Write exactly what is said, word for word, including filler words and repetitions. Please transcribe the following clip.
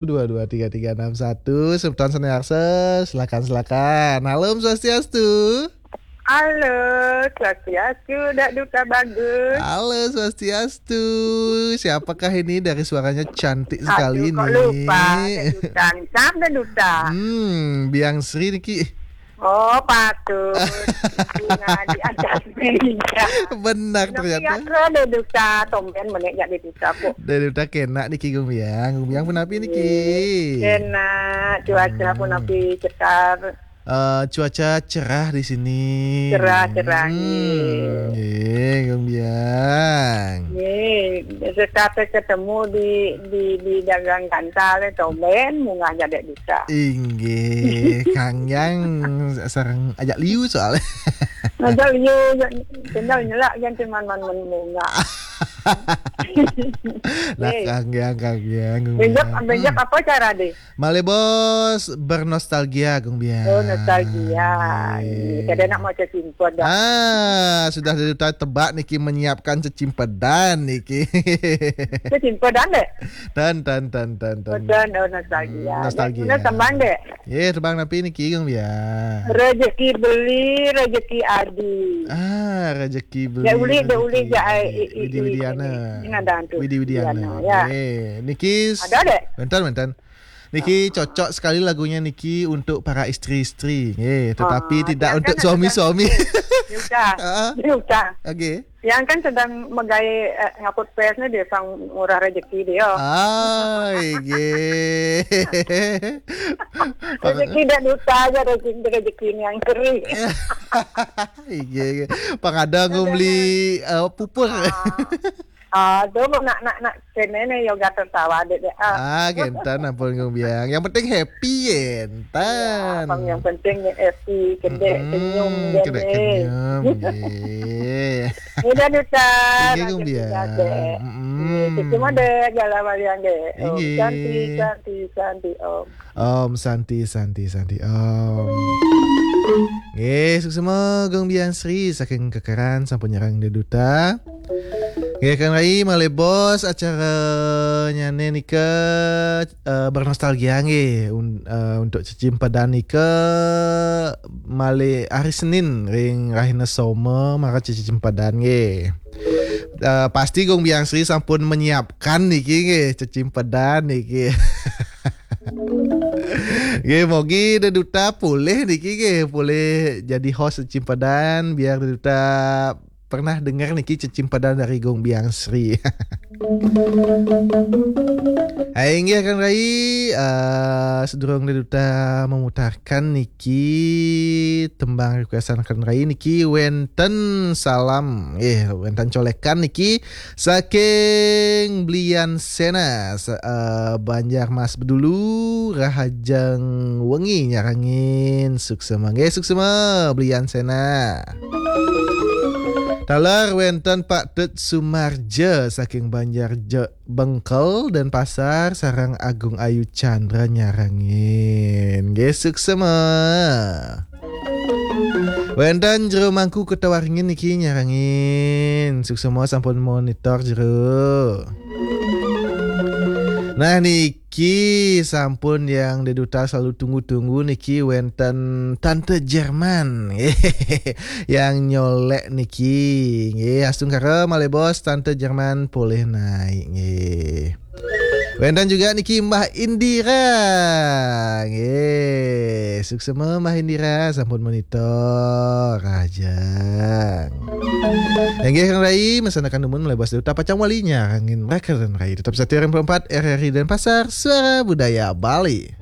Dua dua tiga tiga enam satu, Sultan Seniarsa, silakan, silakan. Halo, Om Swastiastu. Halo, Swastiastu, Dak Duta Bagus. Halo, Swastiastu. Siapakah ini, dari suaranya cantik sekali? Aduh, kok nih lupa, Dak Duta. Sam, Dak Duta. Hmm, Biang Sri niki. Oh, patut. Bunga di atas meja. Benar. Tapi ternyata. Ya, Dak Duta, tumben menek jak Dak Duta kok. Dak Duta kenak niki, Gung Biang. Gung Biang pun api niki. Enak, cuaca pun Hmm. api cetar. Eh, cuaca cerah di sini. Cerah, cerah, Hmm, nggih. Nggih, Gung Biang. Nggih, sekate ketemu di, di, di dagang gantal, tumben munggah jak Dak Duta. Inggih, Kang Yang sareng ajak liu soalnya. Ajak liu, tinggal nyelak kan cuman man, man munggah. Lah, Nggih. Kang Yang, Kang Yang, Gung Benjak, Yang. Benjak Hmm. apa cara deh? Malih bos bernostalgia, Gung Biang. Oh, nostalgia. Nggih. Kada nak mau cecimpod dah. Ah, sudah Dak Duta tebak niki, menyiapkan cecimpedan niki. Cecimpedan deh? Dan, dan, dan, dan, dan. Oh, dan, oh, nostalgia. Hmm, nostalgia. Nak tembang deh? Ye, tembang napi niki, Gung Biang? Rezeki beli, rezeki adi. Ah, rezeki beli, Dak Uli, Dak rezeki Uli, jak, adi. Eh, eh, Widi eh, Widiana. Ini ada hantu. Widi Widiana. Widiana, ya. Ye, niki s-, Ada deh? Bentar, bentar. Niki cocok sekali lagunya niki untuk para istri-istri, nggih, tetapi Ah, tidak yang untuk kan suami-suami. Dia udah. Ah. Dia udah. Oke. Yang kan sedang megai, eh, ngaput pes ni dia sang murah rezeki dia. Ah, nggih. Rezeki Dak Duta aja, rezeki, rezeki yang kering. Nggih, nggih. Pang ada ngumli, eh, pupur. Ah. Ah, tu nak, nak, nak kene ni yoga tertawa dek, dek. Ah. Ah, kentan ampun, Gung Biang. Yang penting happy, yen. Ya, Tan. Abang yang penting ni happy, kedek, Mm-mm, senyum, kedek, dek. Senyum, nggih. Udah, Duta. Inggih, Gung Biang. Dek. Mm-mm. Nggih, semua dek, jalan balian dek. Om Inggih. Santi, Santi, Santi, Om. Om Santi, Santi, Santi, Om. Nggih, suksma Gung Biang Sri saking Kekeran sampun nyerang Dak Duta. Nggih, Kang Rai, malih bos acara nyane nika, eh, bernostalgia nggih. Un-, eh, untuk cecimpedan nika malih hari Senin ring rahina Soma mara cecimpedan nggih. Eh, pasti Gung Biang Sri sampun menyiapkan niki nggih, cecimpedan niki. Nggih, mogi Dak Duta polih niki nggih, polih jadi host cecimpedan, biar Dak Duta pernah dengar niki cecimpedan dari Gung Biang Sri. Hai, inggih, Kang Rai, eh, sedurung Dak Duta memutarkan niki tembang requestan Kang Rai niki wenten salam, eh, wenten colekan niki saking Blian Sena, sa-, eh, Banjar Mas Bedulu, rahajeng wengi nyarengin, suksma nggih, suksma Blian Sena. Taler wenten Pak Tut Sumarja saking Banjar Je-, Bengkel, Denpasar, sareng Agung Ayu Chandra nyarengin. Nggih, suksma. Wenten Jero Mangku Kota Waringin niki nyarengin. Suksma sampun monitor, Jero. Nah, niki sampun yang Dak Duta selalu tunggu-tunggu niki, wenten Tante Jerman. Yang nyolek niki. Nggih, astungkara malih bos Tante Jerman polih naik nggih. Wenten juga niki Mbah Indira. Nggih, suksma Mbah Indira sampun monitor rahajeng. Inggih, Kang Rai, mesanakan dumun malih bos Dak Duta pacang wali nyarengin rakeran Rai. Tetap setia ring empat R R I Denpasar, Suara Budaya Bali.